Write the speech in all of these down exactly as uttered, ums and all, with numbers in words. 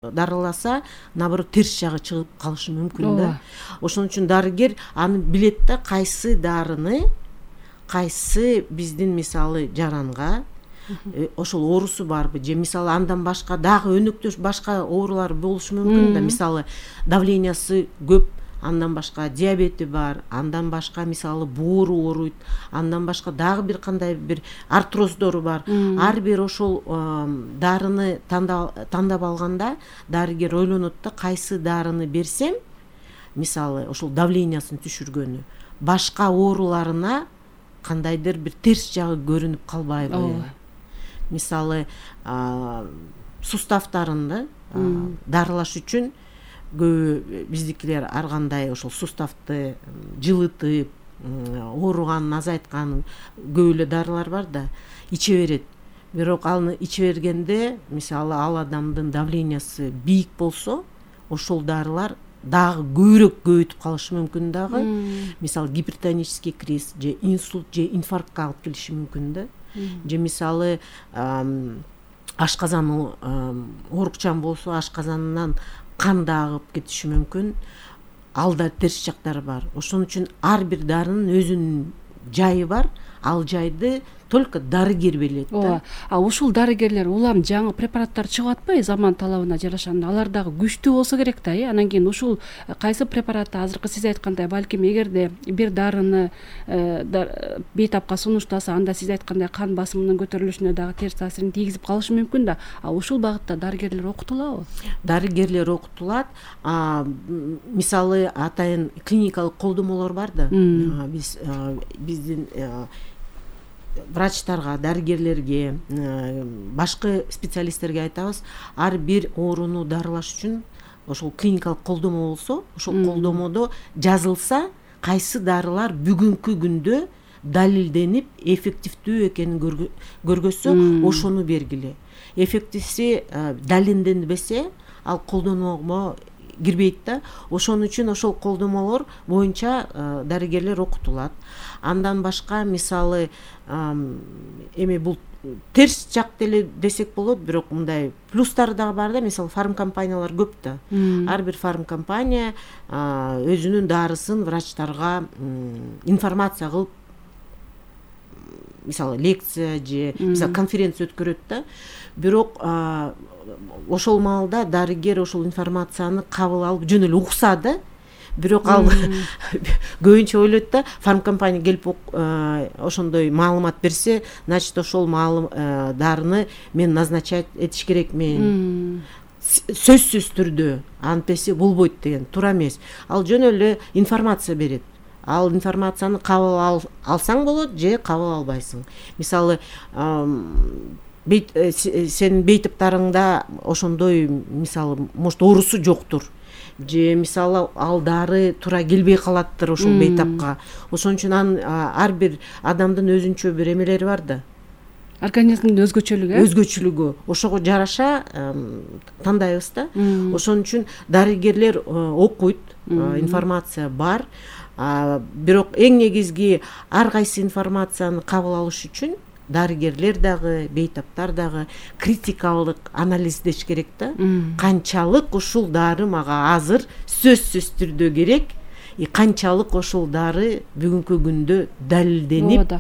дарыласа, наоборот терс жагы чыгып калышы мүмкүн да. Ошон үчүн дарыгер аны билет да, кайсы дарыны кайсы биздин мисалы жаранга ошол оорусу барбы же мисалы андан башка дагы өнөктөш башка оорулар болушу мүмкүн да. Мисалы давлениясы көп, андан башка диабети бар, андан башка мисалы боору ооруйт, андан башка дагы бир кандай бир артроздору бар. Ар бир ошол дарыны тандап алганда дарыгер ойлонот да, кайсы дарыны берсем, мисалы ошол давлениясын түшүргөнү башка ооруларына кандайдыр бир терс жагы көрүнүп калбайбы. Мисалы суставтарында дарылаш үчүн көбү биздикилер ар кандай ошол суставты жылытып, ооруганын азайткан көп эле дарылар бар да, иче берет. Бирок аны иче бергенде, мисалы ал адамдын давлениясы бийик болсо, ошол дарылар дагы көбүрөөк көбөйтүп калышы мүмкүн дагы. Мисалы гипертонический криз же инсульт же инфарктка алып келиши мүмкүн да. Же мисалы ашказаны оорукчан болсо, ашказанынан кан да агып кетиши мүмкүн. Ал да терс жактары бар. Ошон үчүн ар бир дарынын өзүнүн жайы бар. Ал жайды только дарыгер билет да. А ушул дарыгерлер улам жаңы препараттар чыгып атпайбы заман талабына жараша? Алар дагы күчтүү болсо керек да, э? Анан кийин ушул кайсы препаратты азыркы сиз айткандай балким эгерде бир дарыны бейтапка сунуштаса, анда сиз айткандай кан басымынын көтөрүлүшүнө дагы терс таасирин тийгизип калышы мүмкүн да. А ушул багытта дарыгерлер окутулабы? Дарыгерлер окутулат. Мисалы атайын клиникалык колдомолор бар да. Биз биздин врачтарга, дарыгерлерге, башкы специалисттерге айтабыз, ар бир ооруну дарылаш үчүн ошол клиникалык колдомо болсо, ошол колдомодо жазылса, кайсы дарылар бүгүнкү күндө далилденип эффективдүү экенин көргөзсө, ошону бергиле. Эффективси далилденбесе, ал колдонууга кирбейт да. Ошон үчүн ошол колдомолор боюнча дарыгерлер окутулат. Андан башка мисалы эми бул терс жак деле десек болот, бирок мындай плюстары дагы бар да. Мисалы фарм компаниялар көп да. Ар бир фарм компания өзүнүн дарысын врачтарга информация кылып, мисалы лекция же мисалы конференция өткөрөт да. Бирок ошол маалда дарыгер ошол информацияны кабыл алып жөн эле укса да. Бирок ал көбүнчө ойлойт да, фарм компания келип ошондой маалымат берсе, значит ошол дарыны мен назначать этиш керекмин. Сөзсүз түрдө антеси болбойт деген туура эмес. Ал жөн эле информация берет. Ал информацияны кабыл алсаң болот же кабыл албайсың. Мисалы сенин бейтаптарыңда ошондой мисалы может оорусу жоктур, же мисалы ал дары туура келбей калаттыр ошол бейтапка. Ошон үчүн ар бир адамдын өзүнчө бир эмелери бар да. Организмдин өзгөчөлүгү, өзгөчөлүгү. Ошого жараша тандайбыз да. Ошон үчүн дарыгерлер окуйт, информация бар. Бирок эң негизги ар кайсы информацияны кабыл алыш үчүн дарыгерлер дагы, бейтаптар дагы критикалык анализдеш керек да. Канчалык ушул дары мага азыр сөзсүз түрдө керек, и канчалык ошол дары бүгүнкү күндө далилденип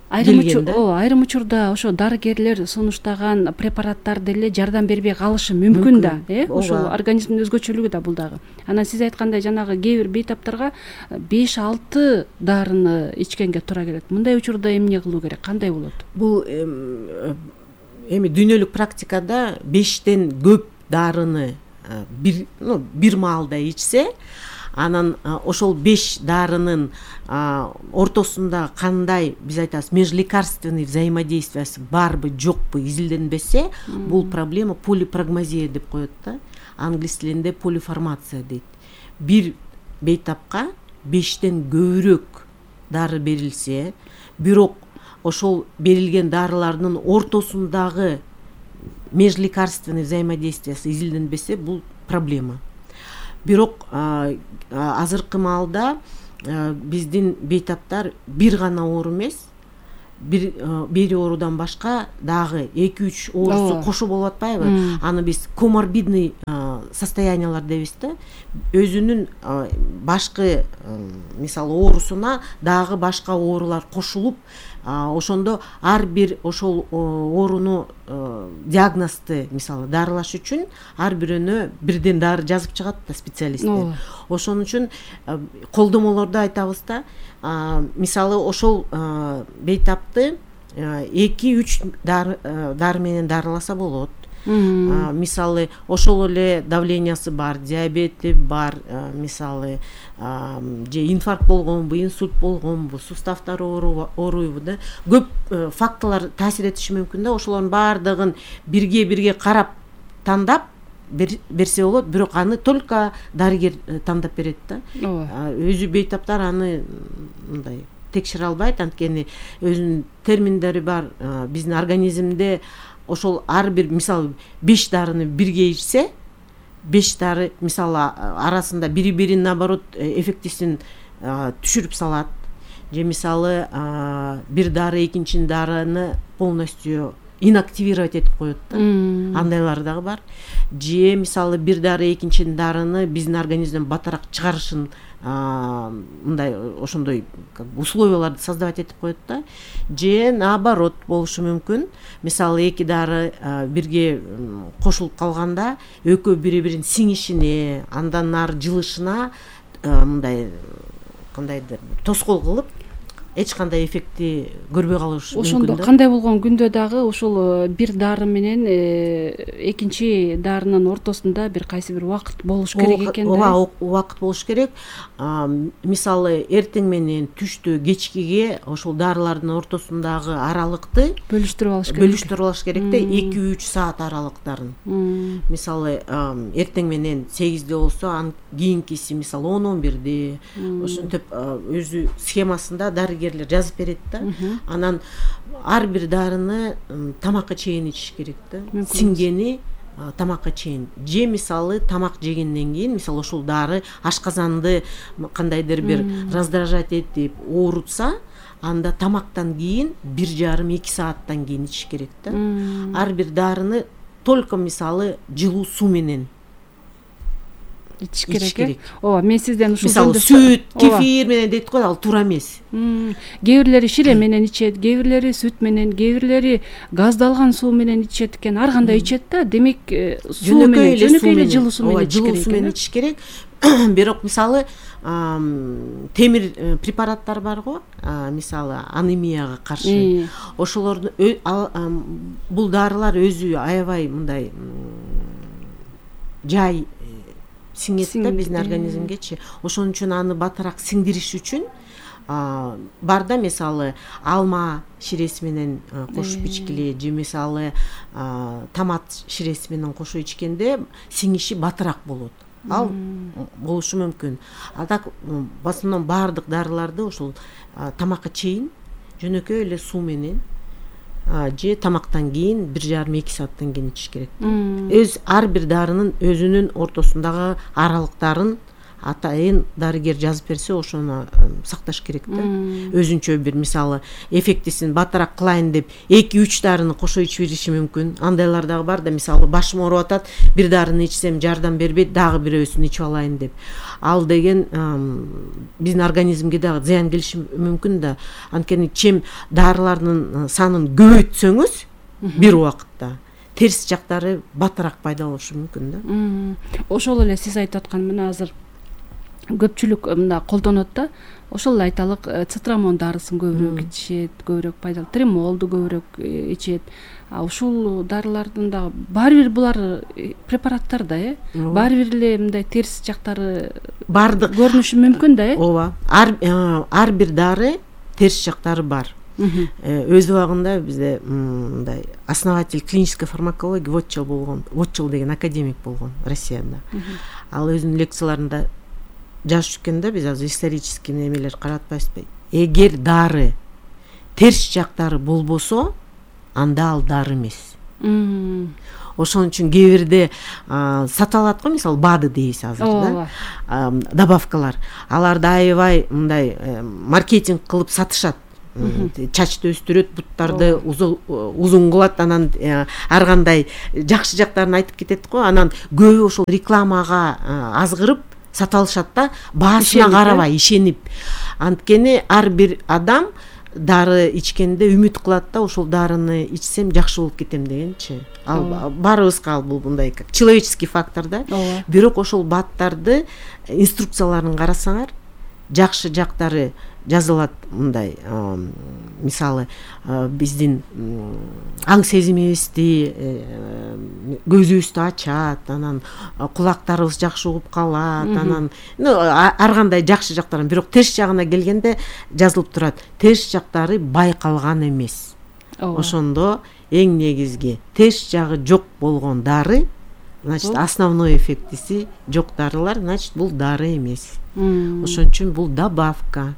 айрым учурда ошо дарыгерлер сунуштаган препараттар деле жардам бербей калышы мүмкүн да, э? Ошол организмдин өзгөчөлүгү да бул дагы. Анан сиз айткандай жанагы кээ бир бейтаптарга беш алты дарыны ичкенге туура келет. Мындай учурда эмне кылуу керек? Кандай болот? Бул эми дүйнөлүк практикада бештен көп дарыны бир, ну, бир маалда ичсе, анан ошол беш дарынын ортосунда кандай, биз айтабыз, межлекарственный взаимодействиясы барбы, жокпу изилденбесе, бул проблема полипрагмазия деп коет да. Англис тилинде полифармация дейт. Бир бейтапка бештен көбүрөөк дары берилсе, бирок ошол берилген дарылардын ортосундагы межлекарственный взаимодействиясы изилденбесе, бул проблема. Бирок азыркы маалда биздин бейтаптар бир гана оору эмес, бир бир оорудан башка дагы эки үч оорусу кошо болуп атпайбы? Аны биз коморбидный состояниялар дейбиз да. Өзүнүн башкы мисалы оорусуна дагы башка оорулар кошулуп, ошондо ар бир ошол ооруну диагнозду мисалы дарылаш үчүн ар бирөөнө бирден дары жазып чыгат да специалисттер. Ошон үчүн колдомолорду айтабыз да. Мисалы ошол бейтапты эки үч дары дары менен дарыласа болот. Мисалы ошол эле давлениясы бар, диабети бар, мисалы же инфаркт болгонбу, инсульт болгонбу, суставтары ооруйбу да. Көп факторлор таасир этиши мүмкүн да. Ошолордун баардыгын бирге бирге карап тандап берсе болот, бирок аны только дарыгер тандап берет да. Өзү бейтаптар аны мындай текшере албайт, анткени өзүнүн терминдери бар. Биздин организмде ошол ар бир мисалы беш дарыны бирге ичсе, беш дары мисалы арасында бири-бирин наоборот эффектисин түшүрүп салат. Же мисалы бир дары экинчи дарыны полностью инактивировать этип коет да. Андайлар дагы бар. Же мисалы бир дары экинчи дарыны биздин организмден батараак чыгарышын мындай ошондой условияларды создавать этип коет да. Же наоборот болушу мүмкүн. Мисалы эки дары бирге кошулуп калганда экөө бири-бирин сиңишине, андан нары жылышына мындай кандайдыр тоскоол кылып эч кандай эффекти көрбөй калышы мүмкүн. Ошондо кандай болгон күндө дагы ошол бир дары менен экинчи дарынын ортосунда бир кайсы бир убакыт болуш керек экен да. Ооба, убакыт болуш керек. Мисалы эртең менен түштө, кечкиге ошол дарылардын ортосундагы аралыкты бөлүштүрүп алыш керек. Бөлүштүрүп алыш керек да, эки үч саат аралыктарын. Мисалы эртең менен сегизде болсо, анын кийинкиси мисалы он он бирде. Ошентип өзү схемасында дарыгер жазып берет да. Анан ар бир дарыны тамакка чейин ичиш керек да. Сиңгени тамакка чейин. Же мисалы тамак жегенден кийин, мисалы ошол дары ашказанды кандайдыр бир раздражать этип оорутса, анда тамактан кийин бир жарым эки сааттан кийин ичиш керек да. Ар бир дарыны только мисалы жылуу суу менен ичиш керек. Ооба, мен сизден ушул мисалы сүт, кефир менен дейт го, ал туура эмес. Кээ бирлери шире менен ичет, кээ бирлери сүт менен, кээ бирлери газдалган суу менен ичет экен. Ар кандай ичет да. Демек, суу менен, жөнөкөй эле жылуу суу менен ичиш керек. Жылуу суу менен ичиш керек. Бирок мисалы темир препараттар бар го, мисалы анемияга каршы. Ошолорду бул дарылар өзү аябай мындай жай сиңет да биздин организмгечи. Ошон үчүн аны батараак сиңдириш үчүн бар да, мисалы алма ширеси менен кошуп ичкиле, же мисалы томат ширеси менен кошуп ичкенде сиңиши батараак болот. Ал болушу мүмкүн. А так в основном баардык дарыларды ошол тамакка чейин жөнөкөй эле суу менен же тамактан кийин бир жарым эки сааттан кийин ичиш керек. Өз ар бир дарынын өзүнүн ортосундагы аралыктарын атайын дарыгер жазып берсе, ошону сакташ керек да. Өзүнчө бир мисалы эффектисин батараак кылайын деп эки үч дарыны кошо ичип бериши мүмкүн. Андайлар дагы бар да, мисалы башым ооруп атат, бир дарыны ичсем жардам бербейт, дагы бирөөсүн ичип алайын деп. Ал деген биздин организмге дагы зыян келиши мүмкүн да. Анткени чем дарылардын санын көбөйтсөңүз бир убакытта, терс жактары батараак пайда болушу мүмкүн да. Ошол эле сиз айтып аткан мына азыр көпчүлүк мында колдонот да. Ошол эле айталык, цитрамон дарысын көбүрөөк ичет, көбүрөөк пайдалуу, тремолду көбүрөөк ичет. А ушул дарылардын дагы баары бир булар препараттар да, э? Баары бир эле мындай терс жактары бардык көрүнүшү мүмкүн да, э? Ооба. Ар ар бир дары терс жактары бар. Өз убагында бизде мындай основатель клинической фармакологии Вотчел болгон, Вотчел деген академик болгон Россияда. Ал өзүнүн лекцияларында жазып экен да, биз азыр исторический немелер каратпайбызбы? Эгер дары терс жактары болбосо, анда ал дары эмес. Ошон үчүн кээ бирде саталат го, мисалы БАДы дейбиз азыр да, добавкалар. Аларды аябай мындай маркетинг кылып сатышат. чачты өстүрөт, буттарды узун кылат, анан ар кандай жакшы жактарын айтып кетет го. Анан көбү ошол рекламага азгырып сата алышат да, баасына карабай ишенип. Анткени ар бир адам дары ичкенде үмүт кылат да, ошол дарыны ичсем жакшы болуп кетем дегенчи. Ал баарыбызга ал бул мындай человеческий фактор да. Бирок ошол бааттарды инструкцияларын карасаңар, жакшы жактары жазылат мындай. Мисалы, биздин аң сезимибизди, көзүбүздү ачат, анан кулактарыбыз жакшы угуп калат, анан ар кандай жакшы жактарын. Бирок терс жагына келгенде жазылып турат, терс жактары байкалган эмес. Ошондо эң негизги терс жагы жок болгон дары, значит, основной эффектиси жок дарылар, значит, бул дары эмес. Ошон үчүн бул добавка.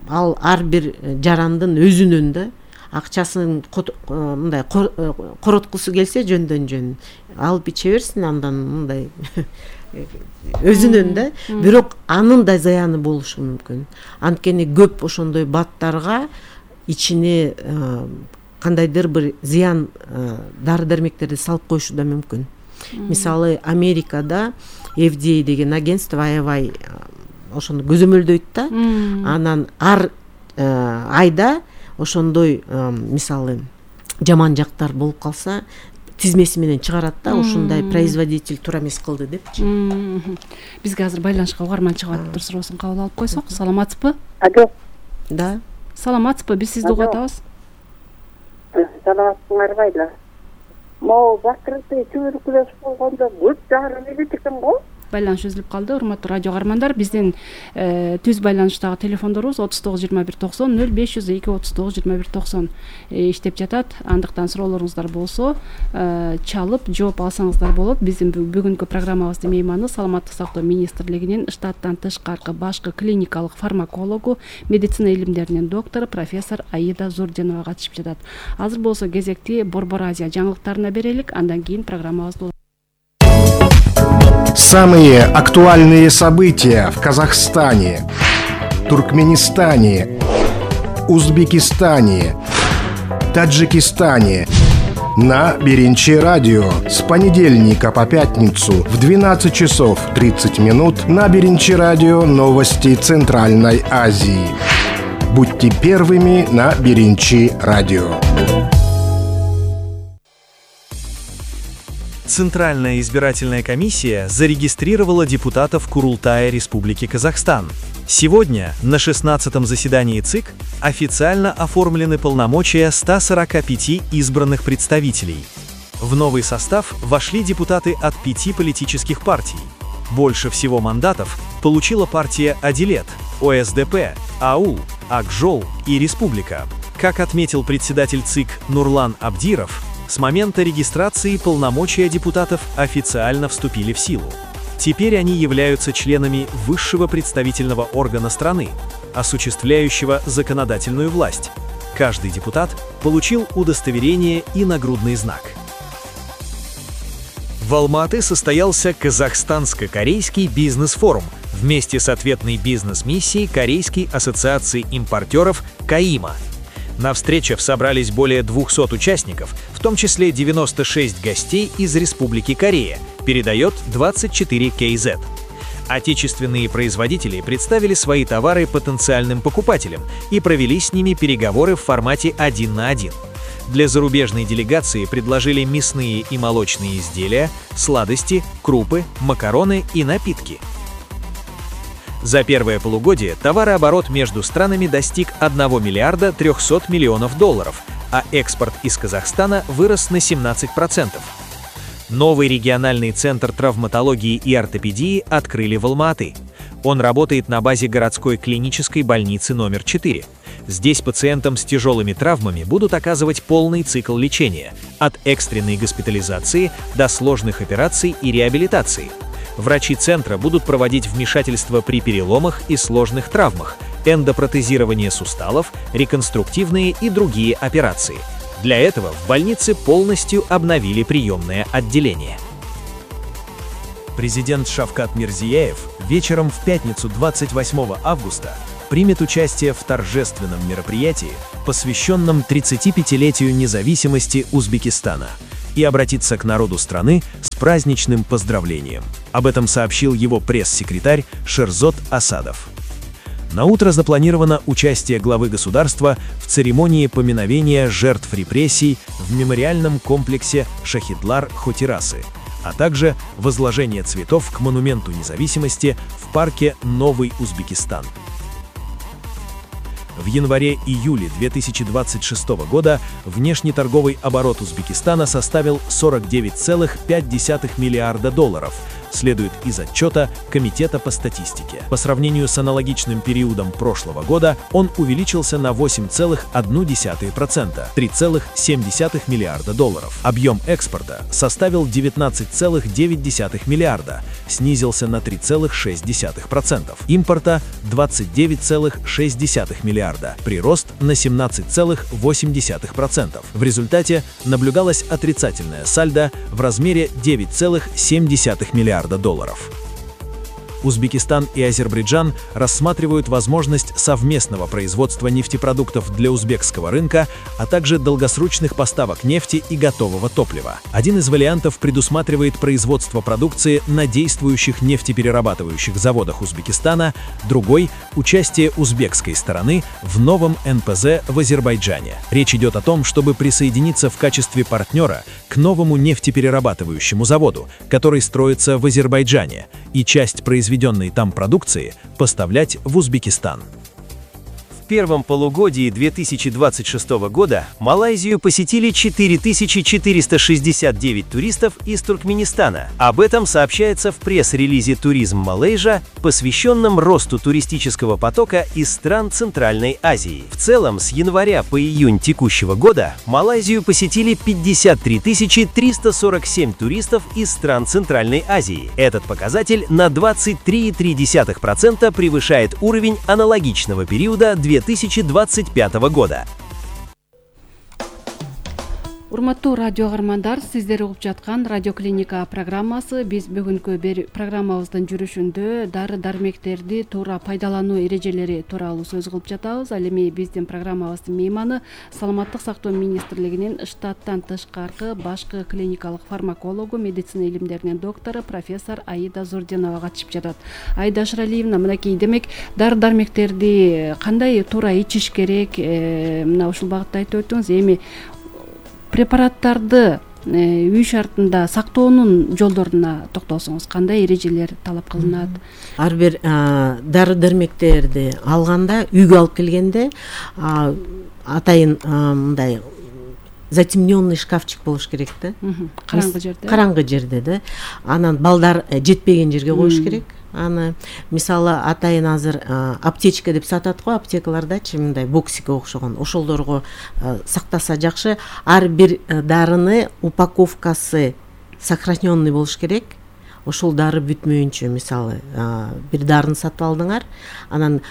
Ал ар бир жарандын өзүнүн да акчасын мындай короткусу келсе жөндөн жөн алып иче берсин, андан мындай өзүнүн да. Бирок анын да зыяны болушу мүмкүн. Анткени көп ошондой баттарга ичине кандайдыр бир зыян дары дармектерди салып коюшу да мүмкүн. Мисалы, Америкада эф ди эй деген агентство аябай ошону көзөмөлдөйт да. Анан ар айда ошондой мисалы жаман жактар болуп калса, тизмеси менен чыгарат да, ушундай производитель туура эмес кылды депчи. Бизге азыр байланышка угарман чыгып атыптыр, суроосун кабыл алып койсок. Саламатсызбы? Алло. Да. Саламатсызбы? Биз сизди угуп атабыз. Саламатсыңарбы? Могу бакырды туберкулез болгондо көп дары берет экен го. Байланыш үзүлүп калды. Урматтуу радио каармандар, биздин түз байланыштагы телефондорубуз отуз тогуз жыйырма бир токсон нөл беш жүз эки отуз тогуз жыйырма бир токсон иштеп жатат. Андыктан суроолоруңуздар болсо чалып жооп алсаңыздар болот. Биздин бүгүнкү программабыздын мейманы Саламаттык сактоо министрлигинин штаттан тышкаркы башкы клиникалык фармакологу, медицина илимдеринин доктору профессор Аида Зурдинова катышып жатат. Азыр болсо кезекти Борбор Азия жаңылыктарына берелик, андан кийин программабызды. Самые актуальные события в Казахстане, Туркменистане, Узбекистане, Таджикистане на Биринчи радио с понедельника по пятницу в двенадцать часов тридцать минут на Биринчи радио новости Центральной Азии. Будьте первыми на Биринчи радио. Центральная избирательная комиссия зарегистрировала депутатов Курултая Республики Казахстан. Сегодня на шестнадцатом заседании ЦИК официально оформлены полномочия ста сорока пяти избранных представителей. В новый состав вошли депутаты от пяти политических партий. Больше всего мандатов получила партия «Адилет», О С Д П, Аул, Акжол и Республика. Как отметил председатель ЦИК Нурлан Абдиров, с момента регистрации полномочия депутатов официально вступили в силу. Теперь они являются членами высшего представительного органа страны, осуществляющего законодательную власть. Каждый депутат получил удостоверение и нагрудный знак. В Алма-Аты состоялся Казахстанско-корейский бизнес-форум вместе с ответной бизнес-миссией Корейской ассоциации импортеров КАИМа. На встречах собрались более двухсот участников, в том числе девяносто шесть гостей из Республики Корея, передает двадцать четыре Кей Зет. Отечественные производители представили свои товары потенциальным покупателям и провели с ними переговоры в формате один на один. Для зарубежной делегации предложили мясные и молочные изделия, сладости, крупы, макароны и напитки. За первое полугодие товарооборот между странами достиг одного миллиарда трёхсот миллионов долларов, а экспорт из Казахстана вырос на семнадцать процентов. Новый региональный центр травматологии и ортопедии открыли в Алма-Аты. Он работает на базе городской клинической больницы номер четыре. Здесь пациентам с тяжелыми травмами будут оказывать полный цикл лечения, от экстренной госпитализации до сложных операций и реабилитации. Врачи центра будут проводить вмешательства при переломах и сложных травмах, эндопротезирование суставов, реконструктивные и другие операции. Для этого в больнице полностью обновили приемное отделение. Президент Шавкат Мирзияев вечером в пятницу двадцать восьмого августа примет участие в торжественном мероприятии, посвященном тридцатипятилетию независимости Узбекистана, и обратиться к народу страны с праздничным поздравлением. Об этом сообщил его пресс-секретарь Шерзот Асадов. На утро запланировано участие главы государства в церемонии поминовения жертв репрессий в мемориальном комплексе Шахидлар-Хотирасы, а также возложение цветов к монументу независимости в парке Новый Узбекистан. В январе-июле две тысячи двадцать шестого года внешнеторговый оборот Узбекистана составил сорок девять целых пять десятых миллиарда долларов, следует из отчета Комитета по статистике. По сравнению с аналогичным периодом прошлого года он увеличился на восемь целых одна десятая процента, три целых семь десятых миллиарда долларов. Объем экспорта составил девятнадцать целых девять десятых миллиарда, снизился на три целых шесть десятых процента. Импорта двадцать девять целых шесть десятых миллиарда, прирост на семнадцать целых восемь десятых процента. В результате наблюдалось отрицательное сальдо в размере девять целых семь десятых миллиарда долларов. Узбекистан и Азербайджан рассматривают возможность совместного производства нефтепродуктов для узбекского рынка, а также долгосрочных поставок нефти и готового топлива. Один из вариантов предусматривает производство продукции на действующих нефтеперерабатывающих заводах Узбекистана, другой – участие узбекской стороны в новом эн пэ зэ в Азербайджане. Речь идет о том, чтобы присоединиться в качестве партнера к новому нефтеперерабатывающему заводу, который строится в Азербайджане, и часть произведенной там продукции поставлять в Узбекистан. В первом полугодии две тысячи двадцать шестого года Малайзию посетили четыре тысячи четыреста шестьдесят девять туристов из Туркменистана. Об этом сообщается в пресс-релизе «Туризм Малайзия», посвященном росту туристического потока из стран Центральной Азии. В целом, с января по июнь текущего года Малайзию посетили пятьдесят три тысячи триста сорок семь туристов из стран Центральной Азии. Этот показатель на двадцать три целых три десятых процента превышает уровень аналогичного периода две тысячи двадцать пятого года. Урматтуу радио каармандар, сиздер угуп жаткан радиоклиника программасы. Биз бүгүнкү бир программабыздын жүрүшүндө дары дармектерди туура пайдалануу эрежелери тууралуу сөз кылып жатабыз. Ал эми биздин программабыздын мейманы саламаттык сактоо министрлигинин штаттан тышкаркы башкы клиникалык фармакологу, медицина илимдеринин доктору профессор Аида Зурдинова катышып жатат. Аида Шыралиевна, мынакей, демек дары дармектерди кандай туура ичиш керек? Мына ушул багытта айтып өттүңүз. Эми препараттарды үй шартында сактоонун жолдоруна токтолсоңуз, кандай эрежелер талап кылынат? Ар бир дары дармектерди алганда, үйгө алып келгенде атайын мындай затемненный шкафчик болуш керек да. Караңгы жерде. Караңгы жерде да. Анан балдар жетпеген жерге коюш керек. Аны мисалы атайын азыр аптечка деп сатат го, аптекалардачы мындай боксикке окшогон, ошолдорго сактаса жакшы. Ар бир дарыны упаковкасы сохраненный болуш керек. Ошол дары бүтмөйүнчө, мисалы бир дарыны сатып алдыңар, анан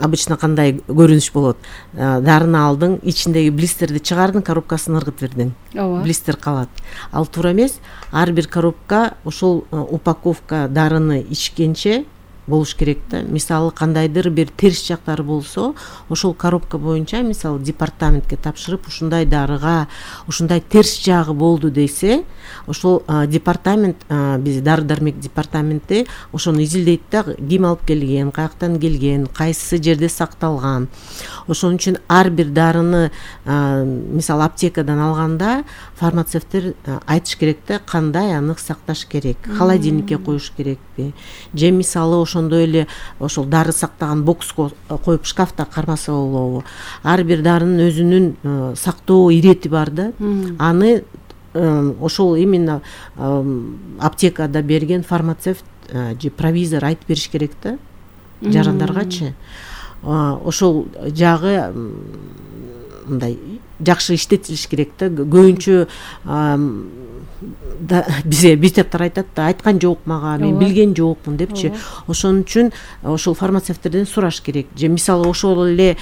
обычно кандай көрүнүш болот? Дарыны алдың, ичиндеги блистерди чыгардың, коробкасын ыргыт бердиң. Блистер калат. Ал туура эмес. Ар бир коробка ошол упаковка дарыны ичкенче болуш керек да. Мисалы кандайдыр бир терс жактары болсо, ошол коробка боюнча мисалы департаментке тапшырып, ушундай дарыга ушундай терс жагы болду десе, ошол департамент, биз дары дармек департаменти ошону изилдейт да, ким алып келген, каяктан келген, кайсы жерде сакталган. Ошон үчүн ар бир дарыны мисалы аптекадан алганда фармацевттер айтыш керек да, кандай аны сакташ керек, холодильникке коюш керекпи, же мисалы ошондой эле ошол дары сактаган бокско коюп шкафта кармаса болобу. Ар бир дарынын өзүнүн сактоо ирети бар да. Аны ошол именно аптекада берген фармацевт же провизор айтып бериш керек да, жарандаргачы. Ошол жагы мындай жакшы иштетилиш керек да. Көбүнчө бизге битептер айтат да, айткан жок мага, мен билген жокмун депчи. Ошон үчүн ошол фармацевттерден сураш керек. Же мисалы ошол эле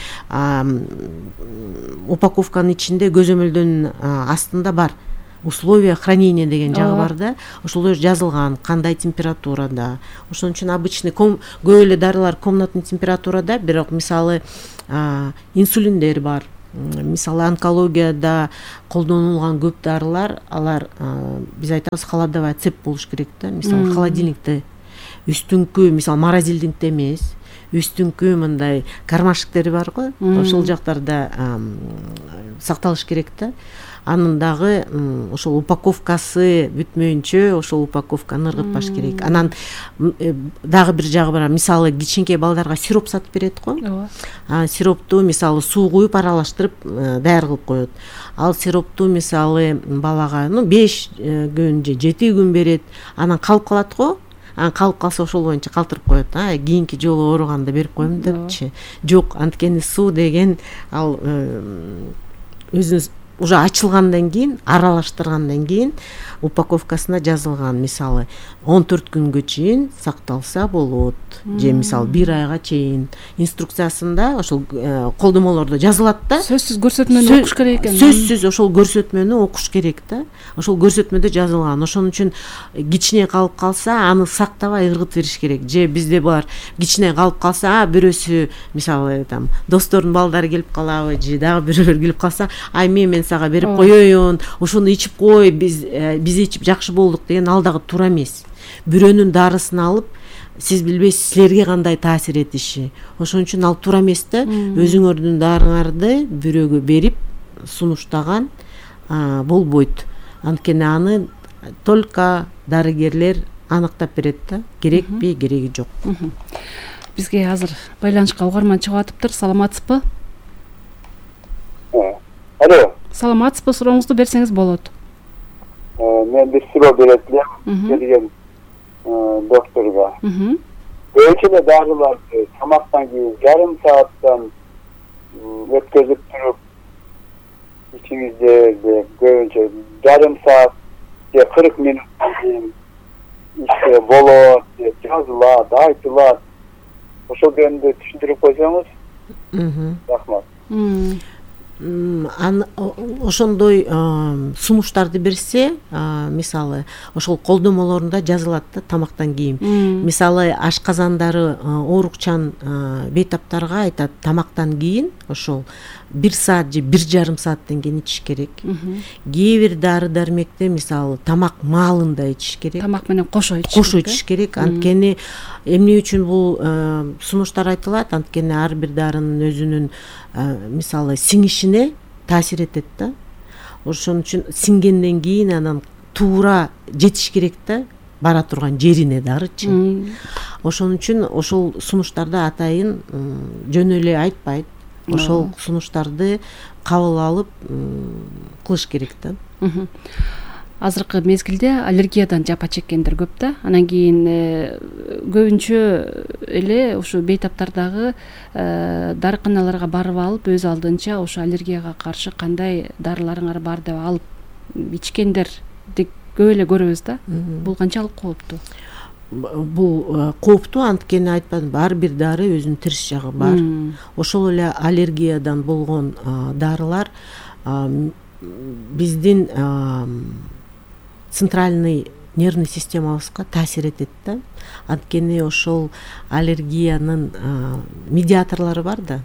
упаковканын ичинде көзөмөлдөн астында бар. условия хранения деген жагы бар да, ошолор жазылган кандай температурада. Ошон үчүн обычный көп эле дарылар комнатный температурада, бирок мисалы инсулиндер бар. Мисалы онкологияда колдонулган көп дарылар, алар биз айтабыз холодовая цепь болуш керек да. Мисалы холодильникте үстүңкү, мисалы морозильникте эмес, үстүңкү мындай кармашиктери бар го, ошол жактарда сакталыш керек да. Анын дагы ошол упаковкасы бүтмөйүнчө ошол упаковканы ыргытпаш керек. Анан дагы бир жагы бар. Мисалы кичинекей балдарга сироп сатып берет го. Ооба. Сиропту мисалы суу куюп аралаштырып даяр кылып коет. Ал сиропту мисалы балага ну беш күн же жети күн берет. Анан калып калат го. Анан калып калса ошол боюнча калтырып коет. А кийинки жолу ооруганда берип коем депчи. Жок, анткени суу деген ал өзүнүз уже ачылгандан кийин, аралаштыргандан кийин упаковкасына жазылган, мисалы он төрт күнгө чейин сакталса болот, же мисалы бир айга чейин инструкциясында ошол колдомолордо жазылат да. Сөзсүз көрсөтмөнү окуш керек экен. Сөзсүз ошол көрсөтмөнү окуш керек да. Ошол көрсөтмөдө жазылган. Ошон үчүн кичине калып калса, аны сактабай ыргытып бериш керек. Же бизде бар кичине калып калса, а бирөөсү мисалы там достордун балдары келип калабы, же дагы бирөөлөр келип калса, ай мен сага берип коеюн, ошону ичип кой, биз биз ичип жакшы болдук деген ал дагы туура эмес. Бирөөнүн дарысын алып, сиз билбейсиз силерге кандай таасир этиши. Ошон үчүн ал туура эмес да. Өзүңөрдүн дарыңарды бирөөгө берип сунуштаган болбойт. Анткени аны только дарыгерлер аныктап берет да, керекпи, кереги жок. Бизге азыр байланышка угарман чыгып атыптыр. Саламатсызбы? Алло. Саламатсызбы? Сурооңузду берсеңиз болот. Мен бир суроо берет элем келген докторго. Көбүнчө дарыларды тамактан кийин жарым сааттан өткөзүп туруп ичиңизде көбүнчө жарым саат же кырк мүнөттөн кийин иште болот деп жазылат, айтылат. Ошол жөнүндө түшүндүрүп койсоңуз. Рахмат. Ошондой сунуштарды берсе, мисалы ошол колдомолорунда жазылат да тамактан кийин. Мисалы ашказандары оорукчан бейтаптарга айтат тамактан кийин ошол бир саат же бир жарым сааттан кийин ичиш керек. Кээ бир дары дармекте мисалы тамак маалында ичиш керек. Тамак менен кошо ичиш керек. Кошо ичиш керек. Анткени эмне үчүн бул сунуштар айтылат? Анткени ар бир дарынын өзүнүн мисалы сиңишине таасир этет да. Ошон үчүн сиңгенден кийин анан туура жетиш керек да, бара турган жерине дарычы. Ошон үчүн ошол сунуштарды атайын жөн эле айтпайт. Ошол сунуштарды кабыл алып кылыш керек да. Азыркы мезгилде аллергиядан жапа чеккендер көп да. Анан кийин көбүнчө эле ушу бейтаптардагы дарыканаларга барып алып, өз алдынча ушу аллергияга каршы кандай дарыларыңар бар деп алып ичкендерди көп эле көрөбүз да. Бул канчалык кооптуу? Бул кооптуу, анткени айтпадымбы, ар бир дары өзүнүн терс жагы бар. Ошол эле аллергиядан болгон дарылар биздин центральный нервный системабызга таасир этет да. Анткени ошол аллергиянын медиаторлору бар да,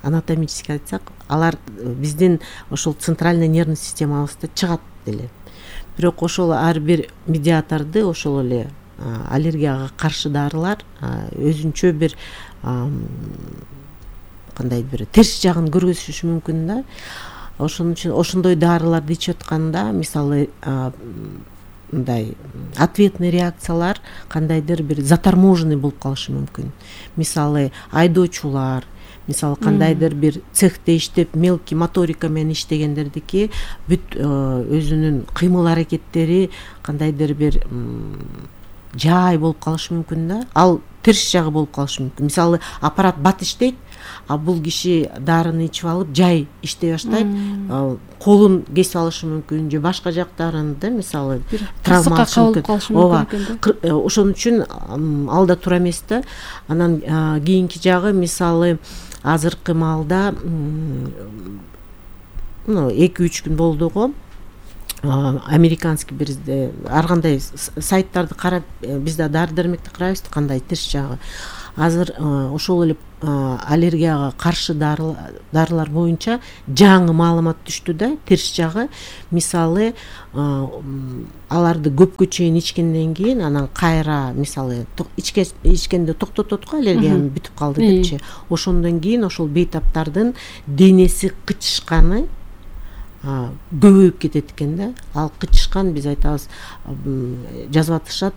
анатомически айтсак, алар биздин ошол центральный нервный системабызда чыгат эле. Бирок ошол ар бир медиаторду ошол эле аллергияга каршы дарылар өзүнчө бир кандай бир терс жагын көргөзүшү мүмкүн да. Ошон үчүн ошондой дарыларды ичип атканда мисалы мындай ответный реакциялар кандайдыр бир заторможенный болуп калышы мүмкүн. Мисалы айдоочулар, мисалы кандайдыр бир цехте иштеп мелкий моторика менен иштегендердики бүт өзүнүн кыймыл аракеттери кандайдыр бир жай болуп калышы мүмкүн да. Ал терс жагы болуп калышы мүмкүн. Мисалы аппарат бат иштейт, а бул киши дарыны ичип алып жай иштей баштайт, колун кесип алышы мүмкүн же башка жактарын да, мисалы травма алышы мүмкүн. Ооба. Ошон үчүн ал да туура эмес да. Анан кийинки жагы мисалы азыркы маалда ну эки үч күн болду го. американский бир ар кандай сайттарды карап биз да дары дармекти карайбыз кандай терс жагы. Азыр ошол эле аллергияга каршы дарылар боюнча жаңы маалымат түштү да. Терс жагы мисалы аларды көпкө чейин ичкенден кийин анан кайра мисалы ичкенде токтотот го, аллергияны бүтүп калды депчи. Ошондон кийин ошол бейтаптардын денеси кычышканы көбөйүп кетет экен да. Ал кычышкан биз айтабыз, жазып атышат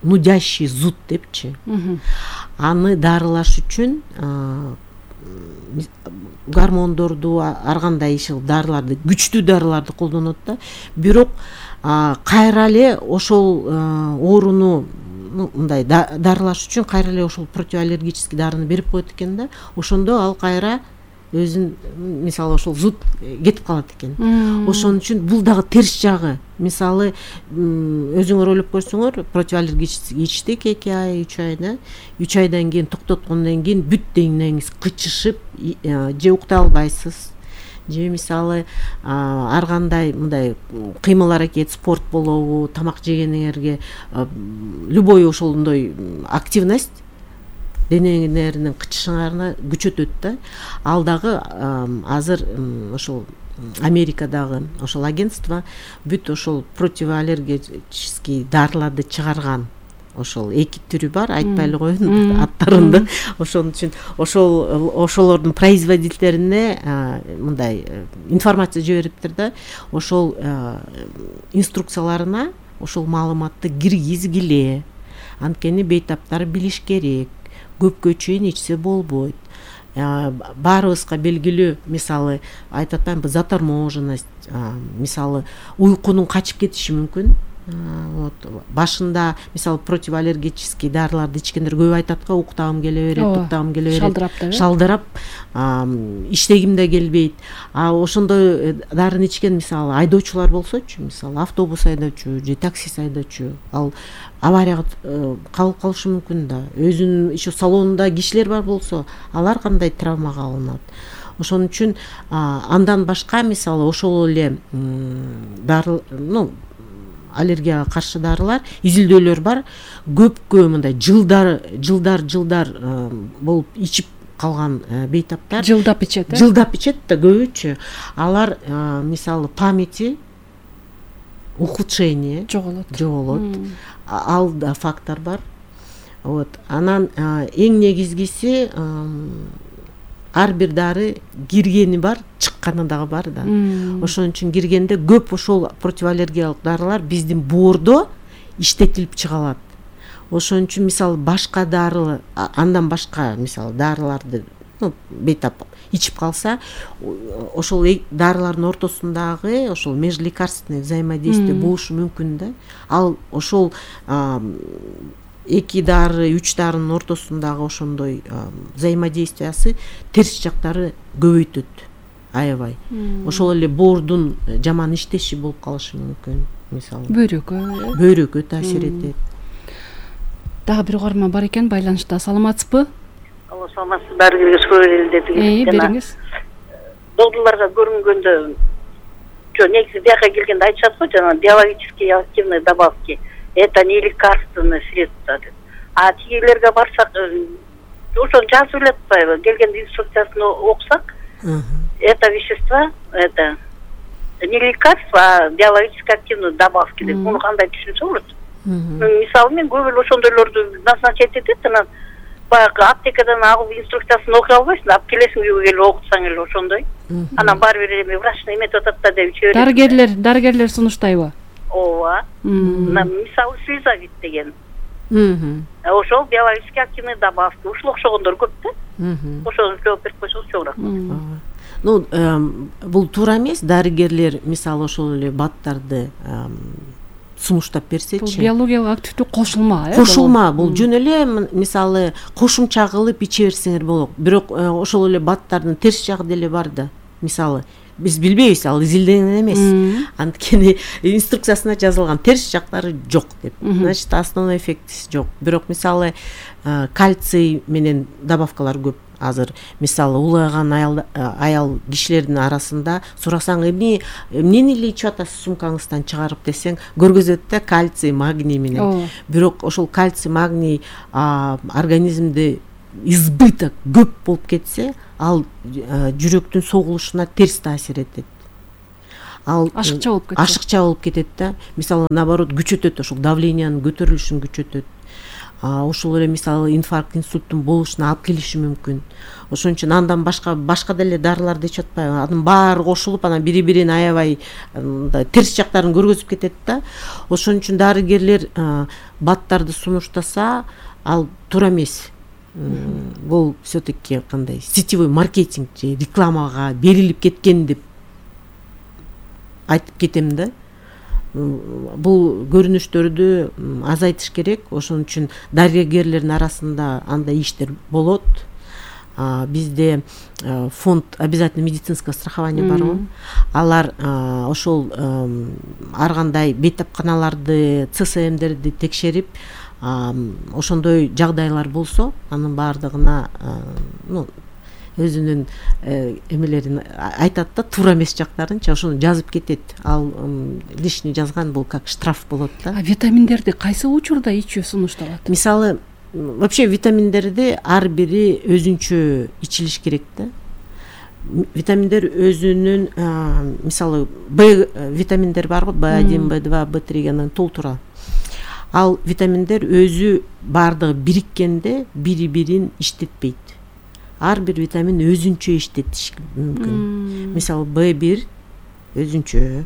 нудящий зуд депчи. Аны дарылаш үчүн гормондорду, ар кандай иши дарыларды, күчтүү дарыларды колдонот да. Бирок кайра эле ошол ооруну мындай дарылаш үчүн кайра эле ошол противоаллергический дарыны берип коет экен да. Ошондо ал кайра өзүн мисалы ошол зуд кетип калат экен. Ошон үчүн бул дагы терс жагы. Мисалы өзүңөр ойлоп көрсөңөр, противоаллергический ичтик эки ай, үч ай да. үч айдан кийин токтоткондон кийин бүт денеңиз кычышып, же уктай албайсыз, же мисалы ар кандай мындай кыймыл аракет, спорт болобу, тамак жегениңерге любой ошондой активность денеңердин кычышыңарына күчөтөт да. Ал дагы азыр ошол Америкадагы ошол агентство бүт ошол противоаллергический дарыларды чыгарган. Ошол эки түрү бар, айтпай эле коеюн аттарында. Ошон үчүн ошол ошолордун производительдерине мындай информация жибериптир да. Ошол инструкцияларына ошол маалыматты киргизгиле. Анткени бейтаптар билиш керек. Көпкө чейин ичсе болбойт. Баарыбызга белгилүү, мисалы айтып атпаймынбы, заторможенность, мисалы уйкунун качып кетиши мүмкүн. Вот башында мисалы противоаллергический дарыларды ичкендер көп айтат го, уктагым келе берет, уктагым келе берет, шалдырап да, шалдырап, иштегим да келбейт. А ошондой дарыны ичкен мисалы айдоочулар болсочу, мисалы автобус айдоочу же такси айдоочу, ал аварияга кабылып калышы мүмкүн да. Өзүнүн иши салонунда кишилер бар болсо, алар кандай травмага алынат. Ошон үчүн андан башка мисалы ошол эле дары, ну аллергияга каршы дарылар, изилдөөлөр бар. Көпкө мындай жылдар, жылдар, жылдар болуп ичип калган бейтаптар, жылдап ичет, э? Жылдап ичет да көбүчө. Алар мисалы памяти ухудшение жоголот. Жоголот. Ал да фактор бар. Вот. Анан эң негизгиси ар бир дары киргени бар, чыкканы дагы бар да. Ошон үчүн киргенде көп ошол противоаллергиялык дарылар биздин боордо иштетилип чыга алат. Ошон үчүн мисалы башка дары, андан башка мисалы дарыларды, ну, бейтап ичип калса, ошол дарылардын ортосундагы ошол межлекарственный взаимодействие болушу мүмкүн да. Ал ошол эки дары, үч дарынын ортосундагы ошондой взаимодействиясы терс жактары көбөйтөт аябай. Ошол эле боордун жаман иштеши болуп калышы мүмкүн, мисалы. Бөйрөккө, бөйрөккө таасир этет. Дагы бир угарман бар экен байланышта. Саламатсызбы? Алло, саламатсыз, дарыгерге суроо деди. Э, бериңиз. Докторлорго көрүнгөндө, жо негизи бияка келгенде айтышат го, жана биологически активные добавки. Это не лекарственное средство. А тигилерге барсак, ошону жазып эле атпайбы? Келгенде инструкциясын окусак, это вещество, это не лекарство, а биологически активные добавки деп. Муну кандай түшүнсө болот? Мисалы мен көп эле ошондойлорду назначать этет, анан баягы аптекадан алып инструкциясын окуй албайсың, алып келесиң үйгө келип окутсаң эле ошондой. Анан баары бир эме врач эметип атат да деп иче берет. Дарыгерлер, дарыгерлер сунуштайбы? Ооба. Мисалы слизовит деген. Ошол биологически активный добавки. Ушул окшогондор көп да. Ошону жооп берип койсоңуз чоңураак. Ну, бул туура эмес. Дарыгерлер мисалы ошол эле баттарды сунуштап берсечи. Бул биологиялык активдүү кошулма, э? Кошулма. Бул жөн эле мисалы кошумча кылып иче берсеңер болот. Бирок ошол эле баттардын терс жагы деле бар да. Мисалы биз билбейбиз, ал изилденген эмес. Анткени инструкциясына жазылган терс жактары жок деп. Значит, основной эффектиси жок. Бирок мисалы кальций менен добавкалар көп азыр мисалы улгайган аял аял кишилердин арасында сурасаң эмне эмнени эле ичип атасыз сумкаңыздан чыгарып десең көргөзөт да кальций магний менен. Бирок ошол кальций магний организмде избыток көп болуп кетсе, ал жүрөктүн согулушуна терс таасир этет. Ал ашыкча болуп кетет. Ашыкча болуп кетет да. Мисалы наоборот күчөтөт, ошол давлениянын көтөрүлүшүн күчөтөт. Ошол эле мисалы инфаркт, инсульттун болушуна алып келиши мүмкүн. Ошон үчүн андан башка башка деле дарыларды ичип атпайбы? Анын баары кошулуп, анан бири-бирин аябай терс жактарын көргөзүп кетет да. Ошон үчүн дарыгерлер баттарды сунуштаса, ал туура эмес. Бул все-таки кандай сетевой маркетинг же рекламага берилип кеткен деп айтып кетем да. Бул көрүнүштөрдү азайтыш керек. Ошон үчүн дарыгерлердин арасында андай иштер болот. Бизде фонд обязательно медицинское страхование барбы? Алар ошол ар кандай бейтапканаларды, ЦСМдерди текшерип, ошондой жагдайлар болсо, анын баардыгына ну өзүнүн эмелерин айтат да, туура эмес жактарынчы ошону жазып кетет. Ал лишний жазган бул как штраф болот да. А витаминдерди кайсы учурда ичүү сунушталат? Мисалы, вообще витаминдерди ар бири өзүнчө ичилиш керек да. Витаминдер өзүнүн мисалы Б витаминдер барбы? Б один, Б два, Б три анан толтура. Ал витаминдер өзү баардыгы бириккенде бири-бирин иштетпейт. Ар бир витамин өзүнчө иштетиш мүмкүн. Мисалы Б бир өзүнчө,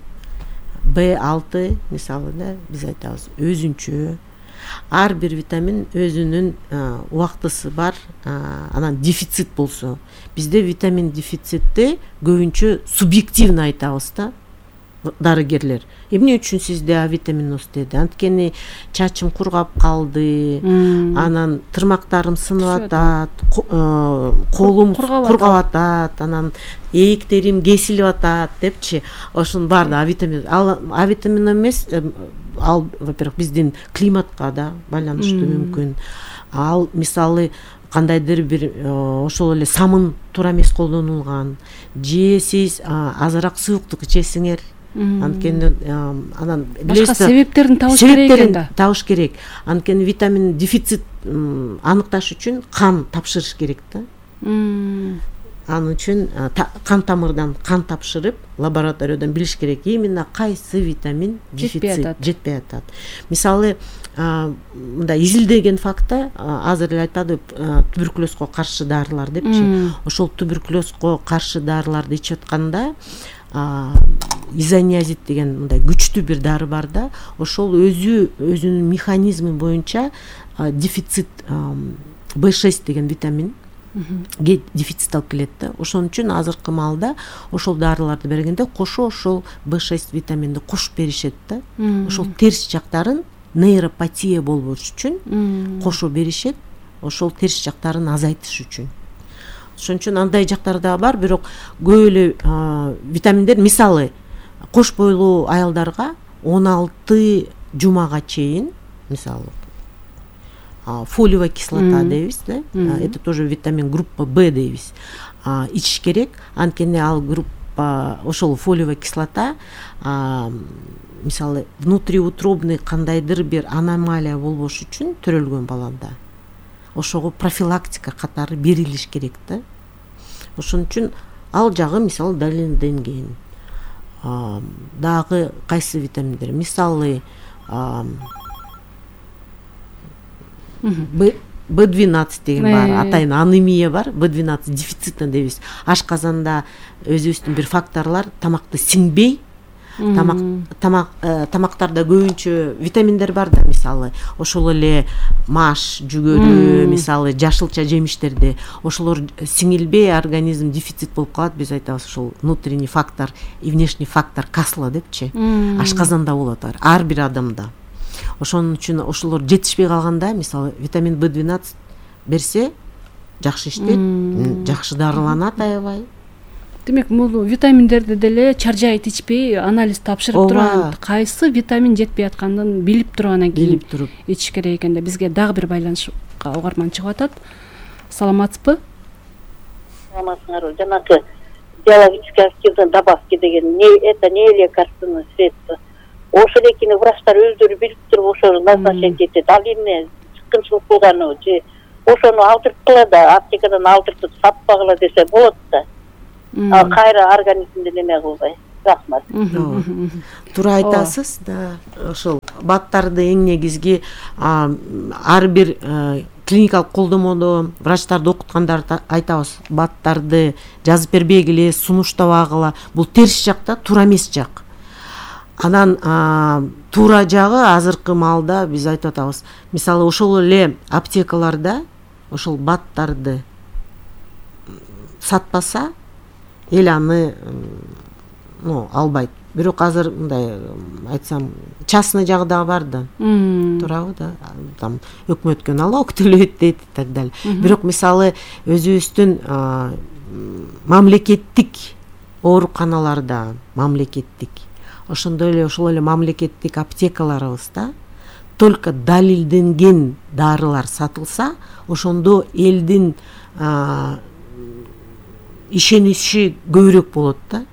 Б алты мисалы да биз айтабыз өзүнчө. Ар бир витамин өзүнүн убактысы бар. Анан дефицит болсо, бизде витамин дефицитти көбүнчө субъективно айтабыз да дарыгерлер. Эмне үчүн сизде А витаминоз деди? Анткени чачым кургап калды, анан тырмактарым сынып атат, колум кургап атат, анан ээктерим кесилип атат депчи. Ошонун баардыгы А витамин. Ал А витамин эмес, ал во-первых биздин климатка да байланыштуу мүмкүн. Ал мисалы кандайдыр бир ошол эле самын туура эмес колдонулган, же сиз азыраак сууктук ичесиңер. Анткени анан башка себептерин табыш керек экен да. Табыш керек. Анткени витамин дефицит аныкташ үчүн кан тапшырыш керек да. Анын үчүн кан тамырдан кан тапшырып, лабораториядан билиш керек именно кайсы витамин дефицит жетпей атат. Мисалы, мындай изилдеген факта азыр эле айтпады туберкулезго каршы дарылар депчи. Ошол туберкулезго каршы дарыларды ичип атканда изониазид деген мындай күчтүү бир дары бар да. Ошол өзү өзүнүн механизми боюнча дефицит Б шесть деген витамин дефицит алып келет да. Ошон үчүн азыркы маалда ошол дарыларды бергенде кошо ошол Б шесть витаминди кошуп беришет да. Ошол терс жактарын нейропатия болбош үчүн кошо беришет, ошол терс жактарын азайтыш үчүн. Ошон үчүн андай жактар да бар, бирок көп эле витаминдер мисалы кош бойлуу аялдарга он алты жумага чейин мисалы фолиевая кислота дейбиз да, это тоже витамин группа Б дейбиз, ичиш керек. Анткени ал группа ошол фолиевая кислота мисалы внутриутробный кандайдыр бир аномалия болбош үчүн төрөлгөн баланда ошого профилактика катары берилиш керек да. Ошон үчүн ал жагы мисалы далилденген. Дагы кайсы витаминдер? Мисалы Б двенадцать деген бар, атайын анемия бар, Б двенадцать дефицитно дейбиз. Ашказанда өзүбүздүн бир факторлор тамакты сиңбей, тамак тамак тамактарда көбүнчө витаминдер бар да, мисалы ошол эле маш, жүгөрү, мисалы жашылча жемиштерде ошолор сиңилбей организм дефицит болуп калат. Биз айтабыз ошол внутренний фактор и внешний фактор касла депчи. Ашказанда болот ар бир адамда. Ошон үчүн ошолор жетишпей калганда мисалы витамин Б двенадцать берсе жакшы иштейт, жакшы дарыланат аябай. Демек, бул витаминдерди деле чаржайыт ичпей анализ тапшырып турган, кайсы витамин жетпей атканын билип туруп анан кийин ичиш керек экен да. Бизге дагы бир байланышка угарман чыгып атат. Саламатсызбы? саламатсыңарбы? Жанагы биологически активные добавки деген не это не лекарственное средство. Ошол экини врачтар өздөрү билип туруп ошону назначать этет. Ал эмне чыккынчылык болгону же ошону алдырткыла да аптекадан алдыртып сатпагыла десе болот да. Ал кайра организмди неме кылбай. Рахмат. Туура айтасыз да. Ошол баттарды эң негизги ар бир клиникалык колдомодо врачтарды окуткандарды айтабыз. Баттарды жазып бербегиле, сунуштабагыла. Бул терс жакта, туура эмес жак. Анан туура жагы азыркы маалда биз айтып атабыз. Мисалы ошол эле аптекаларда ошол баттарды сатпаса, эл аны ну албайт. Бирок азыр мындай айтсам, частный жагы да бар да. Туурабы да? Там өкмөткө налог төлөйт дейт и так далее. Бирок мисалы өзүбүздүн мамлекеттик ооруканаларда, мамлекеттик ошондой эле ошол эле мамлекеттик аптекаларыбызда только далилденген дарылар сатылса, ошондо элдин ишеничи көбүрөөк болот да.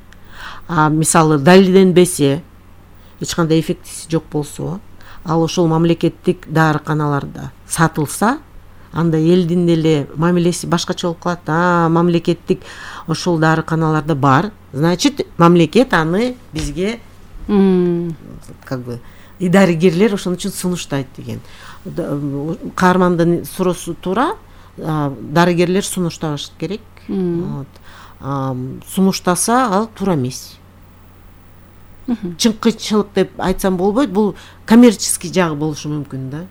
А мисалы далилденбесе, эч кандай эффектиси жок болсо, ал ошол мамлекеттик дарыканаларда сатылса, анда элдин деле мамилеси башкача болуп калат. А мамлекеттик ошол дарыканаларда бар, значит, мамлекет аны бизге как бы и дарыгерлер ошон үчүн сунуштайт деген. Каармандын суроосу туура, дарыгерлер сунушташ керек. Сунуштаса ал туура эмес. Чыңкычылык деп айтсам болбойт, бул коммерческий жагы болушу мүмкүн да.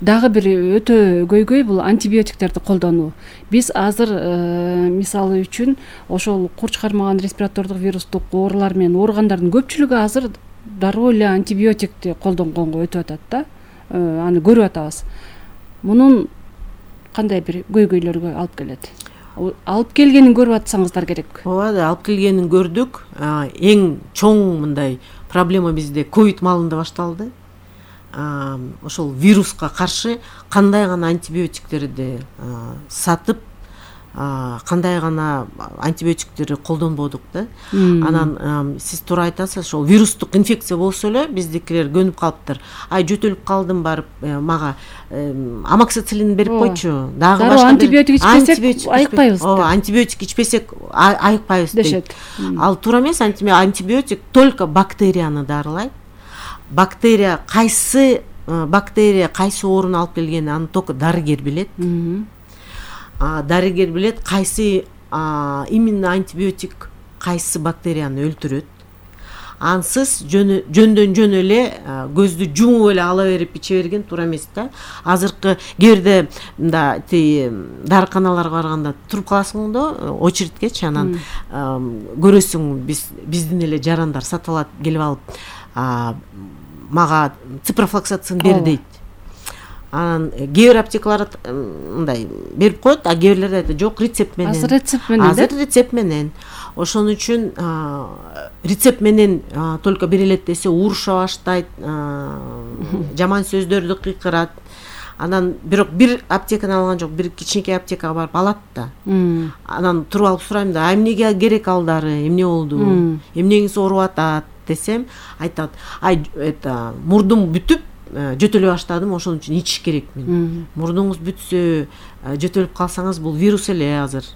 Дагы бир өтө көйгөй бул антибиотиктерди колдонуу. Биз азыр мисалы үчүн ошол курч кармаган респиратордук вирустук оорулар менен ооругандардын көпчүлүгү азыр дароо эле антибиотикти колдонгонго өтүп атат да. Аны көрүп атабыз. Мунун кандай бир көйгөйлөргө алып келет? Алып келгенин көрүп атсаңыздар керек. Ооба, алып келгенин көрдүк. Эң чоң мындай проблема бизде ковид маалында башталды. Ошол вируска каршы кандай гана антибиотиктерди сатып, кандай гана антибиотиктерди колдонбодук да. Анан сиз туура айтасыз, ошол вирустук инфекция болсо эле биздикилер көнүп калыптыр. Ай жөтөлүп калдым, барып мага амоксициллин берип койчу. Дагы башка антибиотик ичпесек айыкпайбыз. Ооба, антибиотик ичпесек айыкпайбыз дейт. Ал туура эмес. Антибиотик только бактерияны дарылайт. Бактерия кайсы бактерия кайсы ооруну алып келгенин аны только дарыгер билет. Дарыгер билет кайсы именно антибиотик кайсы бактерияны өлтүрөт. Ансыз жөндөн жөн эле көздү жумуп эле ала берип иче берген туура эмес да. Азыркы кээде мында дарыканаларга барганда туруп каласың да, очередкечи, анан көрөсүң биздин эле жарандар сатып алат, келип алып мага ципрофлоксацин бер дейт. Анан кээ бир аптекалар мындай берип коет, а кээ бирлер айтат жок, рецепт менен. Азыр рецепт менен. Азыр рецепт менен. Ошон үчүн рецепт менен только берилет десе уруша баштайт, жаман сөздөрдү кыйкырат. Анан бирок бир аптекадан алган жок, бир кичинекей аптекага барып алат да. Анан туруп алып сурайм да, эмнеге керек ал дары, эмне болду, эмнеңиз ооруп атат десем, айтат, ай это мурдум бүтүп жөтөлө баштадым, ошон үчүн ичиш керекмин. Мурдуңуз бүтсө, жөтөлүп калсаңыз, бул вирус эле азыр.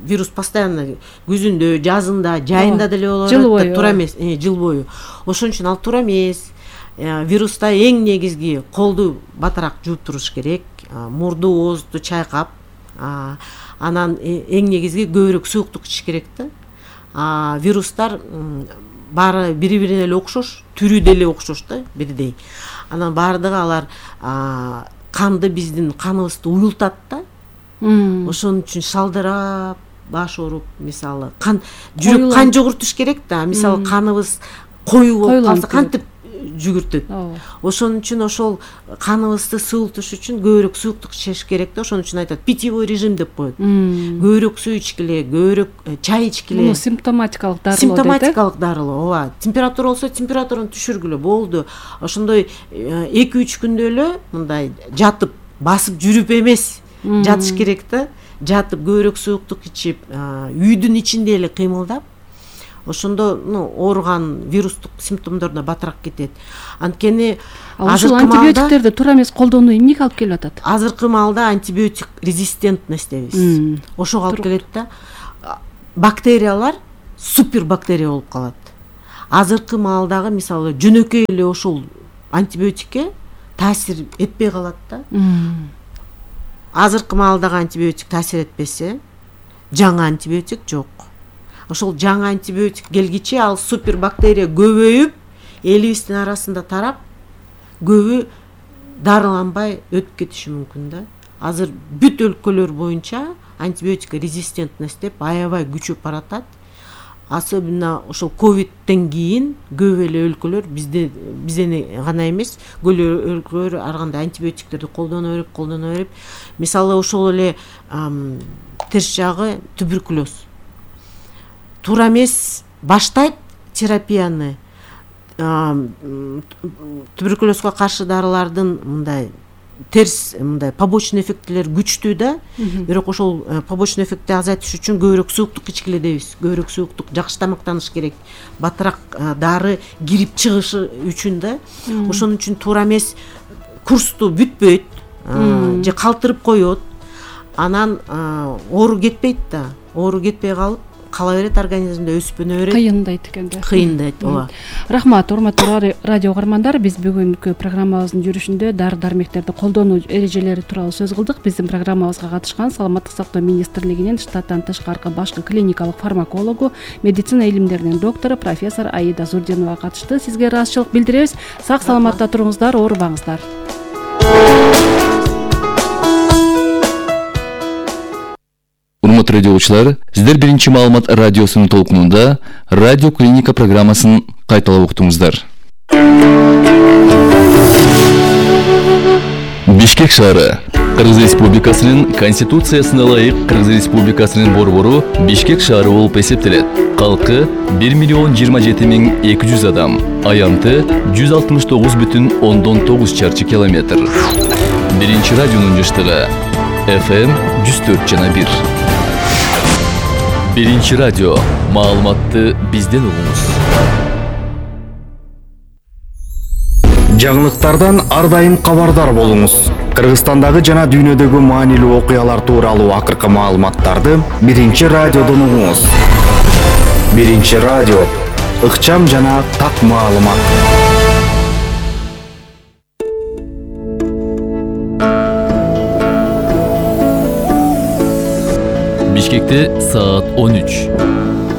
Вирус постоянно күзүндө, жазында, жайында деле болот да, туура эмес, жыл бою. Ошон үчүн ал туура эмес. Вируста эң негизги колду батыраак жууп туруш керек, мурду, оозду чайкап, анан эң негизги көбүрөөк сууктук ичиш керек да. Вирустар баары бири-бирине эле окшош, түрү деле окшош да, бирдей. Анан баардыгы алар канды, биздин каныбызды уюлтат да. Ошон үчүн шалдырап, баш ооруп, мисалы, кан жүрөк кан жогуртуш керек да. Мисалы, каныбыз коюу болуп калса кантип жүгүртөт. Ошон үчүн ошол каныбызды суултуш үчүн көбүрөөк сууктук ичиш керек да. Ошон үчүн айтат, питьевой режим деп коет. Көбүрөөк суу ичкиле, көбүрөөк чай ичкиле. Бул симптоматикалык дарылоо. Симптоматикалык дарылоо, ооба. Температура болсо температураны түшүргүлө болду. Ошондой эки үч күндө эле мындай жатып, басып жүрүп эмес жатыш керек да. жатып көбүрөөк сууктук ичип, үйдүн ичинде эле кыймылдап, ошондо ну ооруган вирустук симптомдоруна батыраак кетет. Анткени ушул антибиотиктерди туура эмес колдонуу эмнеге алып келип атат? Азыркы маалда антибиотик резистентность дейбиз. Ошого алып келет да. Бактериялар супер бактерия болуп калат. Азыркы маалдагы мисалы жөнөкөй эле ошол антибиотикке таасир этпей калат да. Азыркы маалдагы антибиотик таасир этпесе, жаңы антибиотик жок. Ошол жаңы антибиотик келгиче ал супер бактерия көбөйүп, элибиздин арасында тарап, көбү дарыланбай өтүп кетиши мүмкүн да. Азыр бүт өлкөлөр боюнча антибиотик резистентность деп аябай күчөп баратат. Особенно ошол ковидтен кийин көп эле өлкөлөр бизде бизден гана эмес, көп өлкөлөр ар кандай антибиотиктерди колдоно берип, колдоно берип. Мисалы ошол эле терс жагы туберкулез. Туура эмес баштайт терапияны. Туберкулезго каршы дарылардын мындай терс мындай побочный эффектилер күчтүү да. Бирок ошол побочный эффектти азайтыш үчүн көбүрөөк сууктук ичкиле дейбиз. Көбүрөөк сууктук, жакшы тамактаныш керек. Батыраак дары кирип чыгышы үчүн да. Ошон үчүн туура эмес курсту бүтпөйт, же калтырып коет. Анан оору кетпейт да. Оору кетпей калып кала берет, организмде өсүп өнө берет. Кыйындайт экен да. Кыйындайт, ооба. Рахмат, урматтуу радио угармандар. Биз бүгүнкү программабыздын жүрүшүндө дары-дармектерди колдонуу эрежелери тууралуу сөз кылдык. Биздин программабызга катышкан Саламаттык сактоо министрлигинин штаттан тышкаркы башкы клиникалык фармакологу, медицина илимдеринин доктору профессор Аида Зурдинова катышты. Сизге ыраазычылык билдиребиз. Сак саламатта туруңуздар, оорубаңыздар. Урматтуу радиочулар, сиздер биринчи маалымат радиосунун толкунунда радио клиника программасын кайталап уктуңуздар. Бишкек шаары. Кыргыз Республикасынын Конституциясына ылайык Кыргыз Республикасынын борбору Бишкек шаары болуп эсептелет. Калкы бир миллион жыйырма жети миң эки жүз адам, аянты жүз алтымыш тогуз бүтүн ондон тогуз чарчы километр. Биринчи радионун жыштыгы эф эм жүз төрт жана бир. Биринчи радио. Маалыматты бизден угуңуз. Жаңылыктардан ар дайым кабардар болуңуз. Кыргызстандагы жана дүйнөдөгү маанилүү окуялар тууралуу акыркы маалыматтарды Биринчи радиодон угуңуз. Биринчи радио. Ыкчам жана так маалымат. Бишкекте саат он үч.